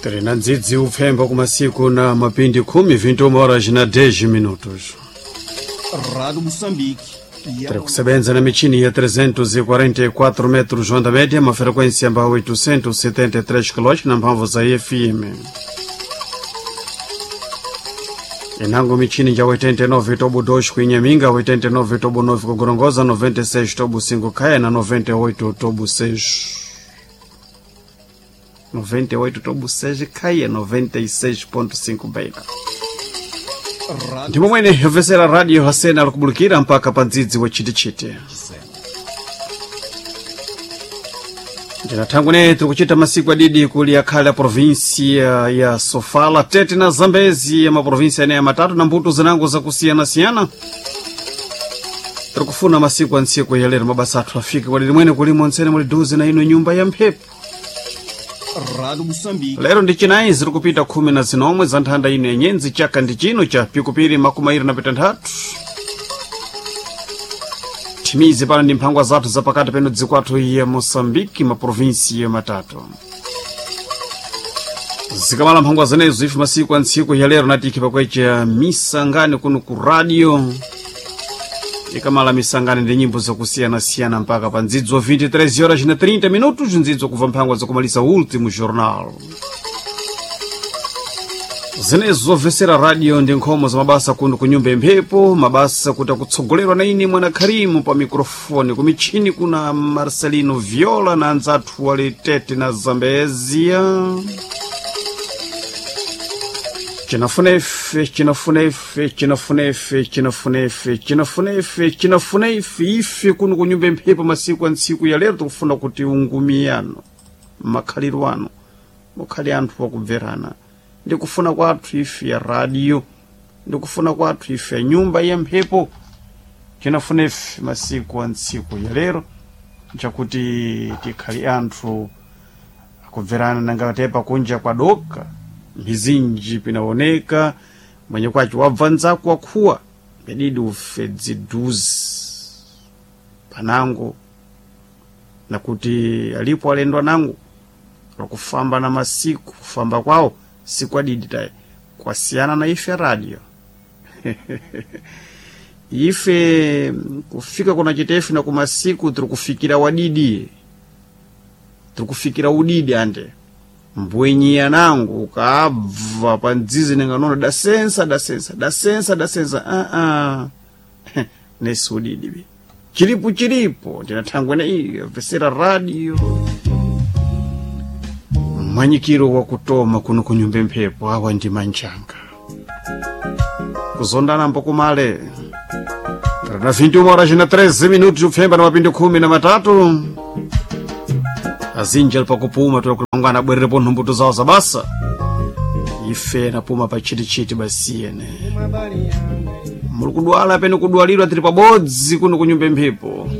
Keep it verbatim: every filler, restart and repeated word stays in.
Tiri na ndzidzi upfemba kumasiku na mapindi khumi vinte horas na dez minutos. Rádio Moçambique. Tiri kusebenza na michini ya trezentos e quarenta e quatro metros onda média, uma frequência ba oitocentos e setenta e três quilômetros na mphamvu za F M. Inango michini ya oitenta e nove tobo dois ku Inhaminga, oitenta e nove tobo nove ku Gorongosa, noventa e seis tobo cinco Caia na noventa e oito tobo seis. noventa e oito tobo seis Caia, noventa e seis ponto cinco Beira. Ndimo mwene yovesera radio hasena alikubulikira mpaka pa ndzidzi wa chitichiti. Ndinathangwene tiri kuchita masiku adidi kuli akhale a província ya Sofala, Tete na Zambezi ya maprovíncia ene matatu na mbuto zinango zakusiyana-siyana. Tiri kufuna masiku a ntsiku ya lero mabasa athu afike kwadidi mwene kulimo ntsene muli duze na ino nyumba ya mphepo. Rádio Moçambique. Lero ndi chinayi ziri kupita khumi na zinomwe za nthanda ino yenyenzi chaka ndi chino cha pikupiri makumi ayiri na pitanthatu. Thimizi pano ndi mphangwa zathu zapakati peno dziko athu ya Moçambique, maprovinsi matatu. Zikamala mphangwa zenezo ife masiku a ntsiku ya lero natikhi pakwecha misangani kuno ku radio. Ikamala misangani ndi nyimbo zakusiyana-siyana mpaka pa ndzidzo vinte e três horas na trinta minutos, ndzidzo kubva mphangwa zakumalisa último jornal. Zinezo zobvesera radio ndi nkhomo za mabasa kuno ku nyumba imphepo, mabasa kuti akutsogolerwa na ine mwana Kharimu pa mikrofoni, ku michini kuna Marcelino Viola na anzathu wali Tete na Zambezia. Chinafuna ife, chinafuna ife, chinafuna ife, chinafuna ife, chinafuna ife, chinafuna ife, ife kuno ku nyumba imphepo masiku a ntsiku ya lero tikufuna kuti ungumiyano, makhaliro ano, mukhale anthu akubverana. Ndikufuna kwathu ife ya radio, ndikufuna kwathu ife ya nyumba ya mphepo. Chinafuna ife masiku a ntsiku ya lero nchakuti tikhale anthu akubverana nangatepa kunja kwa doka mizinji pinaoneka mwenye kwacho wabva nzako wakhuwa pedidi ufe dziduzi panango nakuti alipo alendo nangu wakufamba na masiku kufamba kwawo sikwadidi taye kwasiyana na ife radio. Ife kufika kuna chitefe na kumasiku tiri kufikira wadidi, tiri kufikira udidi ande mbwenyiya nangu ukabva pa ndzizi ninganono dasensa dasensa dasensa dasensa a uh -uh. Nesi udidi be chilipo chilipo ndinathangwene iyo vesera radio mwanyikiro wakutoma kuno kunyumba mphepo awa ndi manjanga kuzondana mpokumale na vinte e uma horas na treze minutos upfemba na mapindi khumi na matatu azinji ali pakupuma tulakulangana abwererepo nhumbuto zawo za basa ife napuma pa chitichiti basiyene muli kudwala pene kudwalirwa tili pabodzi kuno kunyumba mphepo.